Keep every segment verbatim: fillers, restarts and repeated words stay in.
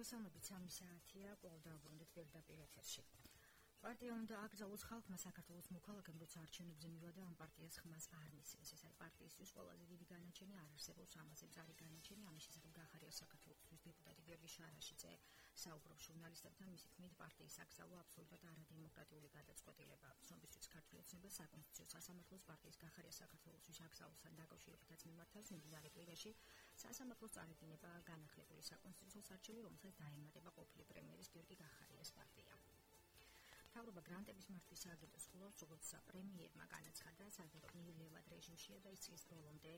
მოგესალმებით, სამი საათია, კვლავ დავბრუნდით პირდაპირ ეთერში. პარტია უნდა აკრძალოს ხალხმა საქართველოს მოქალაქემ, როცა არჩევნებზე მივიდა ამ პარტიას ხმას არ მისცეს. ეს არის პარტიისთვის ყველაზე დიდი განაჩენი, არ არსებობს ამაზე მწარი განაჩენი. ამის შესახებ გაახარია საქართველოს დეპუტატი გიორგი შარაშიძე, საუბრობს ჟურნალისტებთან, მისი თქმით, პარტიის აკრძალვა აბსოლუტურად არადემოკრატიული გადაწყვეტილებაა. ცნობისთვის ქართული ოცნება საკონსტიტუციო სასამართლოს პარტიის გაახარია საქართველოსთვის აკრძალვასთან დაკავშირებითაც მიმართავს მიმდინარე კვირაში. სასამართლოს წარედინება განახლებული საკონსტიტუციო არჩევანი, რომელსაც დაემატება ყოფილი პრემიერის გიორგი გაახარიას პარტია. მთავრობა გრანტების მართვის სააგენტოს ხულავს, როგორც პრემიერმა განაცხადა, საერთოდ რეჟიმშია და ის წლის ბოლომდე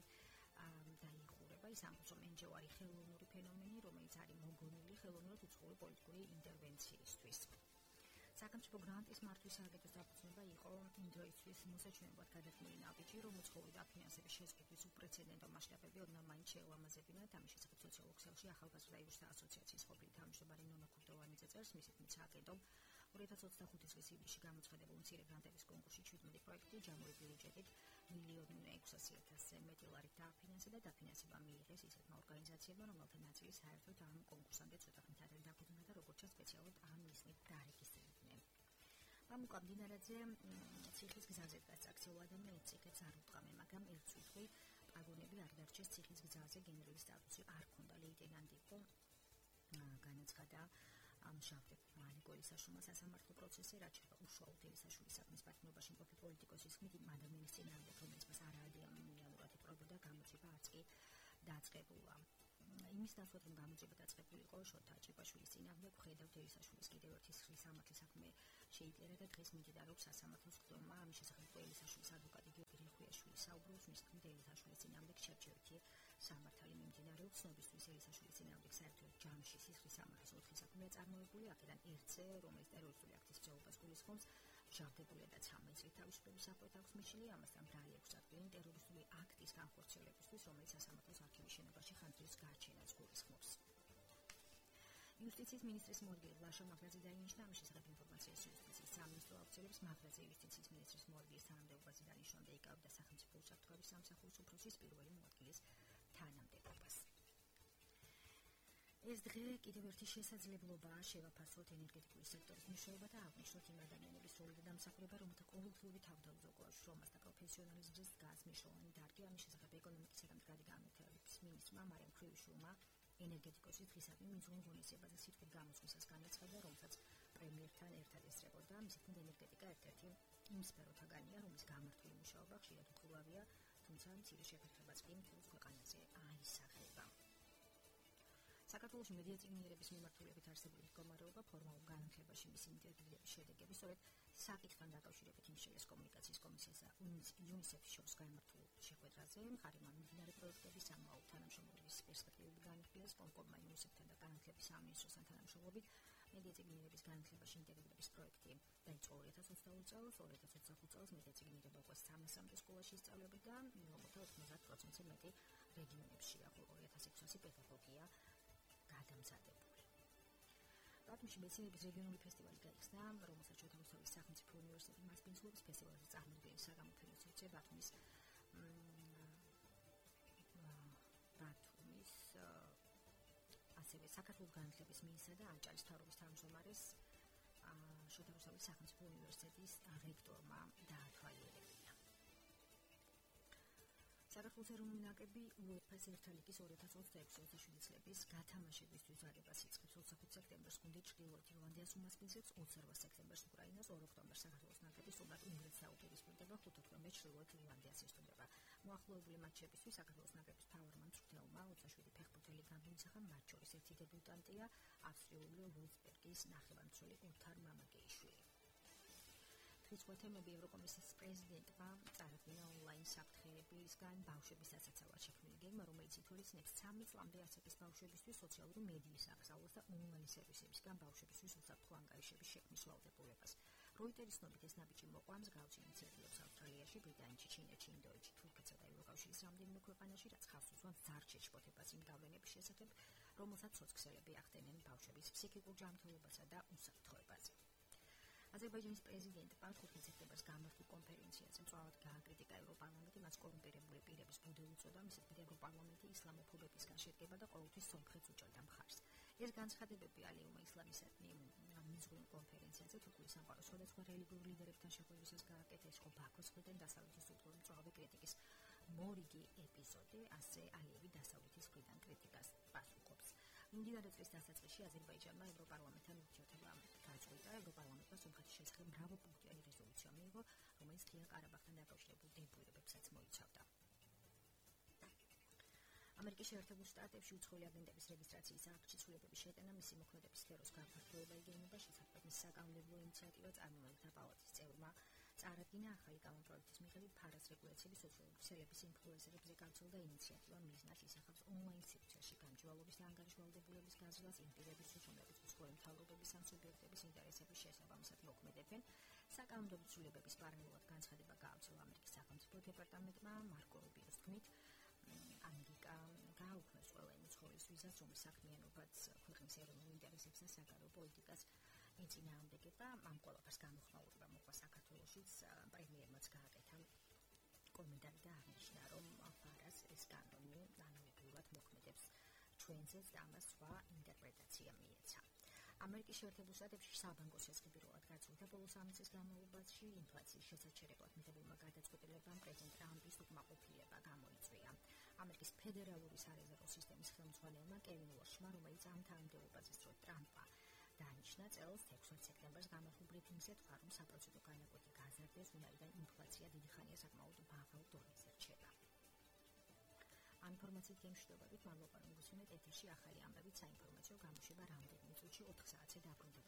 დაიხურება. ის ამბობს, რომ ენჯევარი ხელოვნური ფენომენი, რომელიც არის მოგონილი ხელოვნურად უცხოური პოლიტიკური ინტერვენციისთვის. სახელმწიფო გრანტის მართვის სააგენტოს დაფუძნება იყო იმ დროისთვის მოსაჩვენებლად გადათმული ნაბიჯი, რომ უცხოური დაფინანსების შეზღუდვის უპრეცედენტო მასშტაბები ოდნავ მაინც შეელამაზებინათ. ამის შესახებ სოციოლოგ ქსელში ახალგაზრდა იურსთა ასოციაციის ყოფილი თავმჯდომარე ნონა ქურდოვანიძე წერს, მისი თქმით, სააგენტომ ორი ათას ოცდახუთი წლის ივლისში გამოცხადებულ მცირე გრანტების კონკურსში შვიდმეტი პროექტი ჯამური ბიუჯეტით მილიონი ექვსასი ათასზე მეტი ლარით დააფინანსა და დაფინანსება მიიღეს ისეთმა ორგანიზაციებმა, რომელთა ნაწილი საერთოდ ამ კონკურსამდე ცოტა ხნით არ დაფუძნდა და როგორც სპეციალურად ამ მიზნით დაარეგისტრირდნენ. მამუკა მდინარაძე ციხის გზაზე დგას აქციულ ადამიანებს ციხეც არ უტყამე, მაგრამ ერთ წუთი პაგონები არ დარჩეს ციხის გზაზე, გენერლის სტატუსი არ ჰქონდა, ლეიტენანტი იყო, განაცხადა ამშავდებ მალიკოლის საშუალო სასამართლო პროცესზე, რაც შეეხება უშუალოდ ელისაშვილის საქმის პარტნიორობაში მყოფი პოლიტიკოსის ხმით იმ ადამიანის წინააღმდეგ, რომელიც მას არაადევნებურად იპყრობდა, გამოძიება არც კი დაწყებულა. იმის ნაცვლად, რომ გამოძიება დაწყებული იყო შოთა ჭიპაშვილის წინააღმდეგ, ხედავთ ელისაშვილის კიდევ ერთი სხრის სამართლის საქმე შეიწერა და დღეს მიმდინარეობს სასამართლოს ხდომა. ამის შესახებ ელისაშვილის ადვოკატი გიორგი რიხვიაშვილი საუბრობს, მის თქმით, ელისაშვილის წინააღმდეგ შერჩევითი სამართალი მიმდინარეობს. ცნობისთვის ელისაშვილის წინააღმდეგ საერთოდ ჯამში სისხლის სამართლის ოთხი საქმეა წარმოებული, აქედან ერთზე, რომელიც ტერორისტული აქტის ძეობას გულისხმობს, მჟავდებული და ცამეტ წლით თავისუფლების საფრთხით აქვს მიშლილი, ამასთან ბრალი ექვს ადგილი ტერორისტული აქტის განხორციელებისთვის, რომელიც სასამართლოს არქივის შენობაში ხანძრის გაჩენას გულისხმობს. იუსტიციის მინისტრის მოადგილე ლაშა მაღრაძე დაინიშნა, ამის შესახებ ინფორმაციას იუსტიციის სამინისტრო აუცილებს. მაღრაძე იუსტიციის მინისტრის მოადგილის თანამდებობაზე დანიშნა და იკავებდა სახელმწიფო უსაფრთხოების სამსახურის უფროსის პირველი მოადგილის თანამდებობას. ეს დღე კიდევ ერთი შესაძლებლობაა შევაფასოთ ენერგეტიკული სექტორის მნიშვნელობა და აღვნიშნოთ იმ ადამიანების როლი და დამსახურება, რომელთა ყოველდღიური თავდაუზოგვა შრომას და პროფესიონალიზმს დგას მნიშვნელოვანი დარგი. ამის შესახებ ეკონომიკისა და მდგრადი განვითარების მინისტრმა მარიამ ქრივიშვილმა ენერგეტიკოსის დღისადმი მიზნულ ღონისძიებაზე სიტყვით გამოსვლისას განაცხადა, რომელსაც პრემიერთან ერთად ესწრებოდა. მისი თქმით, ენერგეტიკა ერთ-ერთი იმ სფეროთაგანია, რომლის გამართული მუშაობა ხშირად უხილავია, თუმცა მცირე შეფერხებაც კი მთელ ქვეყანაზე აისახება. საქართველოში მედია წიგნიერების მიმართულებით არსებული მდგომარეობა ფორმალურ განათლებაში მისი ინტეგრირების შედეგები სწორედ საკითხთან დაკავშირებით იმშელის კომუნიკაციის კომისიასა იუნისეფის შორის გამართულ შეხვედრაზე მხარი მიმდინარე პროექტების ამაო თანამშრომლობის პერსპექტივები განიხილეს კომკომმა იუნისეფთან და განათლების სამინისტროსთან თანამშრომლობით მედია წიგნიერების განათლებაში ინტეგრირების პროექტი დაიწყო ორი ათას ოცდაორი წელს, ორი ათას ოცდახუთი წელს მედია წიგნიერება უკვე სამასამდე სკოლაში ისწავლებოდა, რომელთა ოთხმოცდაათ პროცენტზე მეტი რეგიონებშია, ხოლო ორი ათას ექვსასი პედაგოგია გადამზადებული. ბათუმში მეცნიერების რეგიონული ფესტივალი გაიხსნა, რომელსაც შოთა რუსთავის სახელმწიფო უნივერსიტეტი მასპინძლობს. ფესტივალზე წარმოდგენილი საგამოფენო სივრცე ბათუმის ბათუმის ასევე საქართველოს განათლების მინისტრა და ანჭალის მთავრობის თავმჯდომარეს შოთა რუსთავის სახელმწიფო უნივერსიტეტის რექტორმა დაათვალიერებინა. საქართველოს ეროვნული ნაკრები უეფა-ს ერთა ლიგის ორი ათას ოცდაექვსი ოცდაშვიდი წლების გათამაშებისთვის ზარებას იწყებს. ოცდახუთი სექტემბერს გუნდი ჩრდილოეთ ირლანდიას უმასპინძლებს, ოცდაოთხ სექტემბერს უკრაინას, ორ ოქტომბერს საქართველოს ნაკრები სრულად უნგრეთს დაუპირისპირდება, ხუთ ოქტომბერს ჩრდილოეთ ირლანდიას ესტუმრება. მოახლოებული მატჩებისთვის საქართველოს ნაკრების მთავარმა მწვრთნელმა ოცდაშვიდი ფეხბურთელი განუცხადა, მათ შორის ერთი დებიუტანტია ავსტრიული ვოლფსბერგის ნახევარმცველი ოთარ მამაკეიშვილი. დღის თემები ევროკომისიის პრეზიდენტმა წარადგინა ონლაინ საფრთხეებისგან ბავშვების დასაცავად შექმნილი გეგმა, რომელიც ითვალისწინებს ცამეტ წლამდე ასაკის ბავშვებისთვის სოციალური მედიის აკრძალვას და ონლაინ სერვისებისგან ბავშვებისთვის უსაფრთხო ანგარიშების შექმნის ვალდებულებას. როიტერის ცნობით ეს ნაბიჯი მოყვა მსგავსი ინიციატივებს ავსტრალიაში, ბრიტანეთში, ჩინეთში, ინდოეთში, თურქეთსა და ევროკავშირის რამდენიმე ქვეყანაში, რაც ხავს უსვამს ძარჩ შეშფოთებას იმ გავლენების შესახებ, რომელსაც სოცქსელები ახდენენ ბავშვების ფსიქიკურ ჯანმრთელობასა და უსაფრთხოებაზე. აზერბაიჯანის პრეზიდენტმა ხუთი სექტემბერს გამართულ კონფერენციაზე მწვავედ გააკრიტიკა ევროპარლამენტი, მას კორუმპირებული პირების ბუდე უწოდა, მისით ევროპარლამენტი ისლამოფობებისგან შედგება და ყოველთვის სომხეთს უჭერდა მხარს. ეს განცხადებები ალიეუმა ისლამისტები მიზღვენ კონფერენციაზე თურქული სამყაროს სხვადასხვა რელიგიურ ლიდერებთან შეხვედრისას გააკეთა, ხო ბაქოს მხრიდან დასავლეთის უფლობის მწვავე კრიტიკის მორიგი ეპიზოდი, ასე ალიევი დასავლეთის მხრიდან კრიტიკას პასუხობს. მიმდინარე წლის დასაწყისში აზერბაიჯანმა ევროპარლამენტთან ურთიერთობა გაწყვიტა. ევროპარლამენტმა სომხეთის შესახებ მრავალპუნქტიანი რეზოლუცია მიიღო, რომელიც ღია ყარაბაღთან დაკავშირებულ დებულებებსაც მოიცავდა. ამერიკის შეერთებულ შტატებში უცხოელი აგენტების რეგისტრაციის აქტში ცვლილებების შეტანა მისი მოქმედების სფეროს გაფართოება იგეგმება, შესაბამის საკანონმდებლო ინიციატივა წარმომადგენელთა პალატის წევრმა წარადგინა. ახალი კანონპროექტის მიხედვით ფარას რეგულაციის სოციალების ინფლუენსერებზე გავრცელდა ინიციატივა, მიზნად ისახავს ონლაინ სივრცეში გამჭვირვალობის და ანგარიშვალდებულების გაზრდას, იმ პირების უზრუნველყოფას უცხოელი მთავრობების ან სუბიექტების ინტერესების შესაბამისად მოქმედებენ. საკანონმდებლო ცვლილებების პარალელურად განცხადება გაავრცელა ამერიკის სახელმწიფო დეპარტამენტმა. მარკო რუბიოს თქმით, ამერიკა გააუქმეს ყველა იმ უცხოელის ვიზას, რომლის საქმიანობაც ქვეყნის ეროვნულ ინტერესებს და საგარეო პოლიტიკას ეწინააღმდეგება. ამ ყველაფერს გამოხმაურება მოყვა საქართველოშიც. პრემიერმაც გააკეთა კომენტარი და აღნიშნა, რომ ფარას ეს კანონი ანალოგიურად მოქმედებს ჩვენზეც და ამას სხვა ინტერპრეტაცია მიეცა. ამერიკის შეერთებულ შტატებში საბანკო შესაძლებლად გაწყვეტა ბოლო სამი წლის განმავლობაში ინფლაციის შესაჩერებლად მიღებულმა გადაწყვეტილებამ პრეზიდენტ ტრამპის უკმაყოფილება გამოიწვია. ამერიკის ფედერალური სარეზერვო სისტემის ხელმძღვანელმა კევინ ვორშმა, რომელიც ამ თანამდებობაზე სწორედ ტრამპმა დანიშნა, წელს ექვსმეტ სექტემბერს გამართულ ბრიფინგზე თქვა, რომ საპროცენტო განაკვეთი გაზარდეს, ვინაიდან ინფლაცია დიდი ხანია საკმაოდ მაღალ დონეზე რჩება. ამ ინფორმაციით გემშვიდობებით, მადლობა რომ გუსმენთ ეთერში ახალი ამბებით, საინფორმაციო გამოშვება რამდენიმე წუთში ოთხ საათზე დაბრუნდება.